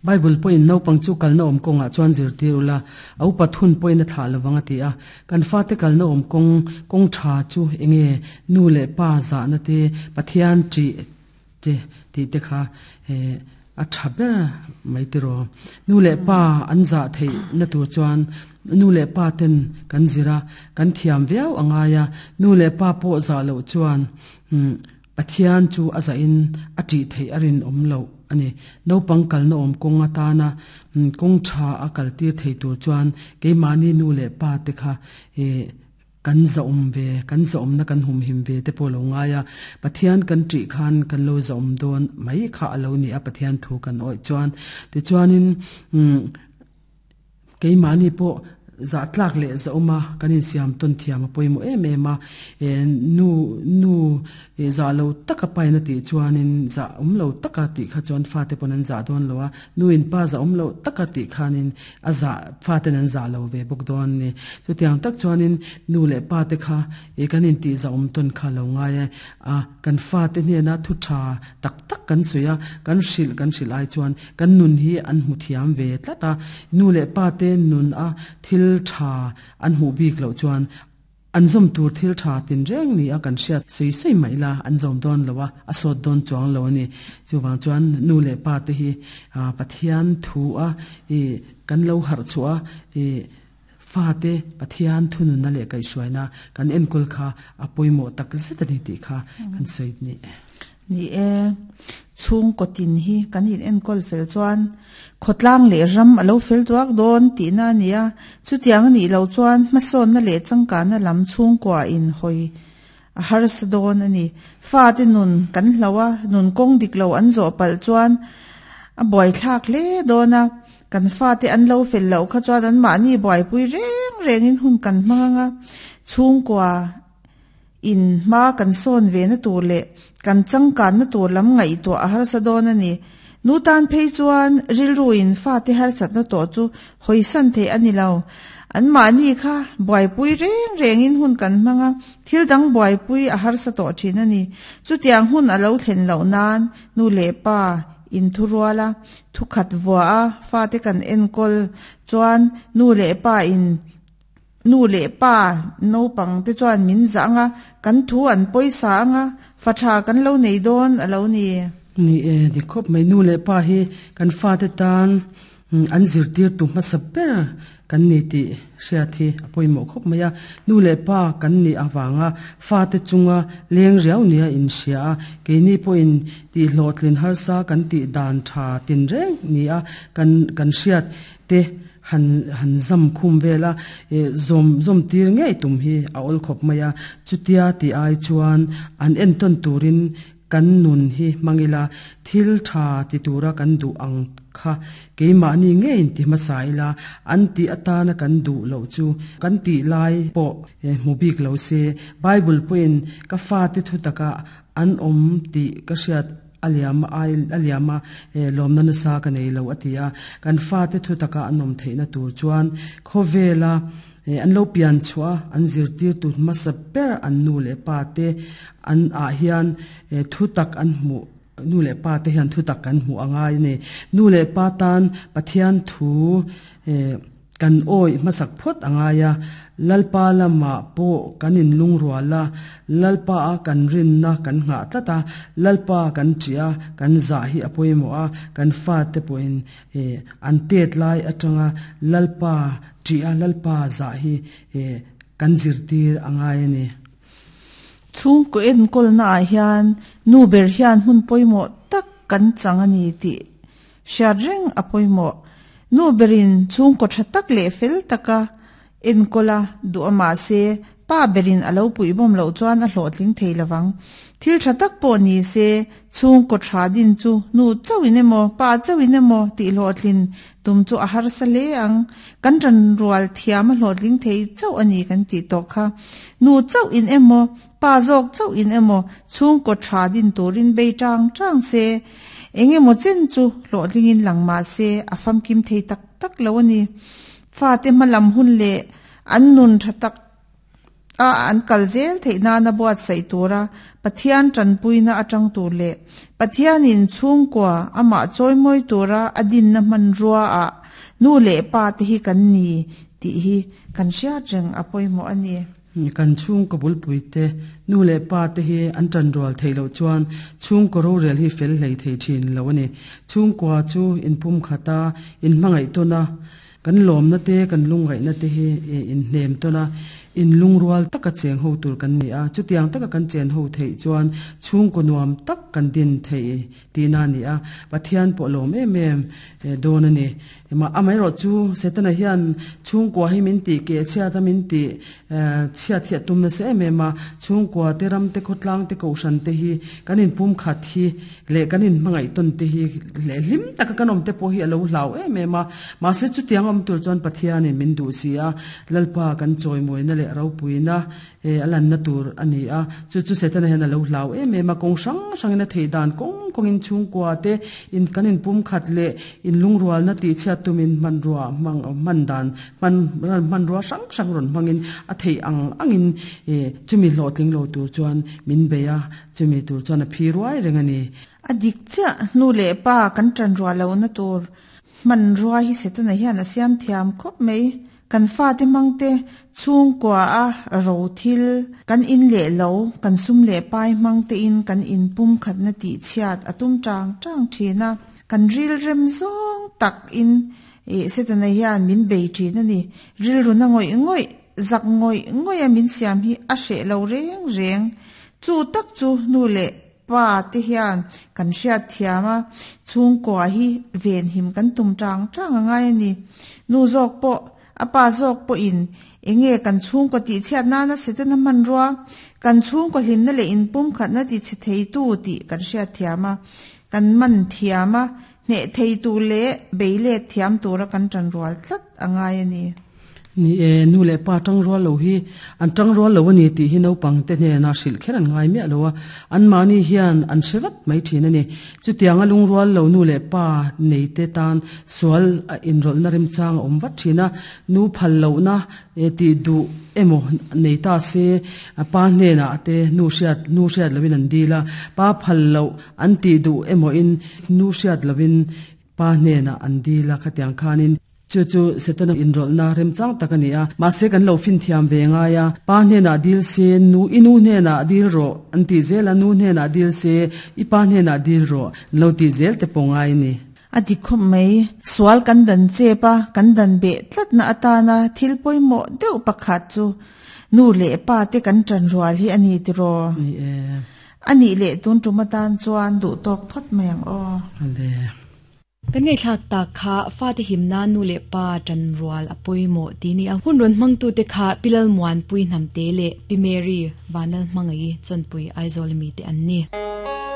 Bible pawhin naupang chu kalna awm kawngah chuan zirtir ula, a upat hun pawhin a thlah lovang a ti a. Kan fate kalna awm kawng, kawng tha chu enge nu leh pa zahna te, Pathian ṭih te tih te kha a tha ber mai tiraw. Nu leh pa an zah theih na tur chuan nu leh pa ten kan zir a, kan thiam viau a ngai a, nu leh pa pawh zah loh chuan Pathian chu a zahin a ṭih theih a rinawm loh a ni. Naupang kalna awm kawng atana kawng ṭha a kaltir thei tur chuan keimahni nu leh pa te kha kan zahawm ve, kan zahawmna kan humhim ve te pawh a lo ngai a. Pathian kan ṭih khan kan lo zahawm dawn mai kha a lo ni a Pathian thu kan awih chuan. Tichuanin Keimahni pawh zah tlak leh zahawm a kan insiam tawn thiam a pawimawh em em a, nu nu zah lo taka pain a tih chuanin zah awm lo taka tih kha chuan fate pawn an zah dawn lo a, nu in pa zah awm lo taka tih khanin a zah faten an zah lo ve bawk dawn a ni. Chutiang tak chuanin nu leh pa te kha kan intih zahawm tawn kha lo ngai a, kan fate hnena thu tha tak tak kan sawi a, kan hrilh kan hrilh ai chuan kan nun hi an hmu thiam ve tlat a, nu leh pa te nun a thil tha an hmuh bik loh chuan an zawm tur thil tha tinreng ni a kan hriat sawi sawi mai la an zawm dawn lo a, a sawt dawn chuang lo a ni. Chuvang chuan nu leh pa te hi Pathian thu a ih kan lo harh chhuah a ih Fate Pathian thununna leh kaihhruaina kan enkawl kha a pawimawh tak zet a ni tih kha kan sawi ni. Ni e, chhungkaw tin hi kan in enkawl fel chuan khawtlang leh ram a lo fel duak dawn tihna a ni a, chutiang a nih loh chuan hmasawnna leh changkanna lam chhungkua in hawi a harsa dawn a ni. Fate nun kan hloh a, nun kawng dik lo an zawh palh chuan a buaithlak hle dawn a, Kan fate an lo fel loh kha chuan anmahni buaipui reng rengin hun kan hmang ang a, chhungkua in hma kan sawn ve na tur leh kan changkanna tur lam ngaihtuah a harsa dawn a ni. Nu tan phei chuan rilru in fate harsatna tawh chu hawisan theih a ni lo. Anmahni kha buaipui reng rengin hun kan hmang a, thil dang buaipui a harsa tawh thin a ni. Chutiang hun a lo thlen loh nan nu leh pa inthurual a, Thukhat vua a fate kan enkawl chuan nu leh pa in nu leh pa naupang te chuan min zah ang a, kan thu an pawisa ang a, fa tha kan lo nei dawn a lo ni. Ni e, ni khawp mai. Nu leh pa hi kan fate tan an zirtirtu hmasa ber kan ni tih hriat hi a pawimawh khawp mai a. Nu leh pa kan nih avanga fate chunga leng riau nia inhria a, keini pawhin tihhlawhtlin harsa kan tih dan tha tinreng nia kan kan hriat te han han zam khum vel a, zawm zawm tir ngei tum hi a awl khawp mai a. Chutia tih ai chuan an entawn turin Kan nun hi hmang ila, thil tha ti tura kan duh ang kha keimahni ngeiin ti hmasa ila, an tih atana kan duh loh chu kan tih lai pawh hmu bik lo se. Bible pawhin ka fate thu taka an awm tih ka hriat a liam a liam a, lawmna nasa ka nei lo a ti a. Kan fate thu taka an awm theihna tur chuan khawvela An lo pian chhuah a, an zirtirtu hmasa ber an nu leh pa te an ah hian thu tak an hmuh, nu leh pa te hian thu tak kan hmuh a ngai a ni. Nu leh pa tan Pathian thu kan awih hmasak phawt a ngai a, Lalpa lamah pawh kan inlungrual a, Lalpa a kan rinna kan nghah tlat a, Lalpa kan ṭih a, kan zah hi a pawimawh a, kan fate pawhin An tet lai atanga Lalpa ṭih a, Lalpa zah hi kan zirtir a ngai a ni. Chhungkaw enkawlna ah hian nu ber hian hmun pawimawh tak kan chang a ni tih hriat reng a pawimawh. Nu berin chhungkaw tha tak leh fel taka Enkawl a duh a mahse, pa berin a lo puihbawm loh chuan a hlawhtling thei lovang. Thil tha tak pawh ni se, chhungkaw tha din chu nu chauhin emaw, pa chauhin emaw tih hlawhtlin tum chu a harsa hle ang. Kan tanrual thiam a hlawhtling thei chauh a ni kan tih tawh kha. Nu chauhin emaw, pa zawk chauhin emaw chhungkaw tha din turin bei tang tang se, eng emaw chen chu hlawhtlingin lang mahse a famkim thei tak tak lo a ni. Fate hmalam hun leh an nun tha tak a an kal zel theih nana buatsaih tura Pathian tanpuina atang tur leh Pathianin chhungkua amah chawimawi tura a dinna hmanrua ah nu leh pa te hi kan ni tih hi kan hriat reng a pawimawh a ni. Kan chhungkaw bulpuite, nu leh pa te hi an tanrual theih loh chuan chhungkaw rorel hi fel hlei thei thin lo a ni. Chhungkua chu inpumkhat a, inhmangaih tawn a, Kan lawmna te, kan lungngaihna te hi inhnem tawn a, inlungrual taka cheng ho tur kan ni a. Chutiang taka kan chen ho theih chuan chhungkaw nuam tak kan din theih tihna a ni a, Pathian pawh lawm em em dawn a ni. Amaherawh chu Setana hian chhungkua hi min tih keh chhiat a, min tih chhiat hi a tum nasa em em a. Chhungkua te, ram te, khawtlang te, kohhran te hi kan inpumkhat hi leh kan inhmangaih tawn te hi leh hlim taka kan awm te pawh hi a lo hlau em em a. Mahse chutiang awm tur chuan Pathianin min duh si a, Lalpa kan chawimawina leh ropuina a lanna tur a ni a. Chu chu Setana hian a lo hlau em em a, kawng hrang hrangin a theih dan kawng kawngin chhungkua te in kan inpumkhat leh inlungrualna tihchhiat tumin hmanrua hmang hman dan hman hmanrua hrang hrang rawn hmangin a theih ang angin chumi hlawhtling lo tur chuan min bei a. Chumi tur chuan a phi ruai reng a ni. A dik chiah, nu leh pa kan ṭan ruah lohna tur hmanrua hi Setana hian a siam thiam khawp mai. Kan fate hmangte chhungkua a ro thil, kan in leh lo, kan sum leh pai hmangtein kan in pumkhatna tih chhiat a tum ṭang ṭang ṭhin a. Kan rilrem zawng takin Setana hian min bei ṭhin a ni. Rilruna ngawih ngawih Zak ngawih ngawih a min siam hi a hreh lo reng reng. Chu tak chu nu leh pa te hian kan hriat thiam a, chhungkua hi venhim kan tum tang tang a ngai a ni. Nu zawk pawh, a pa zawk pawhin enge kan chhungkaw tihchhiat nana Setana hmanrua, kan chhungkaw hlimna leh inpumkhatna tichhe theitu tih kan hriat thiam a, kan man thiam a, hneh theitu leh beilet thiam tura kan tanrual tlat a ngai a ni. Ni e, nu leh pa tangrual lo hi an tangrual lo a ni tih hi naupang te hnena hrilh kher an ngai miah lo a, anmahni hian an hre vat mai thin a ni. Chutianga lungrual lo nu leh pa nei te tan sual a inrawlhna remchang a awm vat thin a, nu phal lohna tih duh emaw nei ta se pa hnenah te nu hriat nu hriat loin an dil a, pa phal loh an tih duh emaw-in nu hriat loin Pa hnenah an dil a, khatiang khanin chu chu Setana inrawlhna remchang tak a ni a, mahse kan lo finthiam ve ngai a, Pa hnenah dil se, nu i nu hnenah dil rawh an tih zel a, nu hnenah dil se, i pa hnenah dil rawh an lo tih zel te pawh ngai a ni. A dik khawp mai. Sual kan dan chep a, kan dan beh tlatna atana thil pawimawh deuh pakhat chu nu leh pa te kan ṭan rual hi a ni tiraw? Ni e. A nih leh tun tum atan chuan duh tawk phawt mai ang aw. Ale. Kan ngaihthlak tak kha fate him nan nu leh pa tan rual a pawimawh tih ni a. Hun rawn hmangtute kha Pi Lalmuanpui Hnamte leh Pi Mary Vanlalhmangaih Chawnpui Aizawl ami te an ni.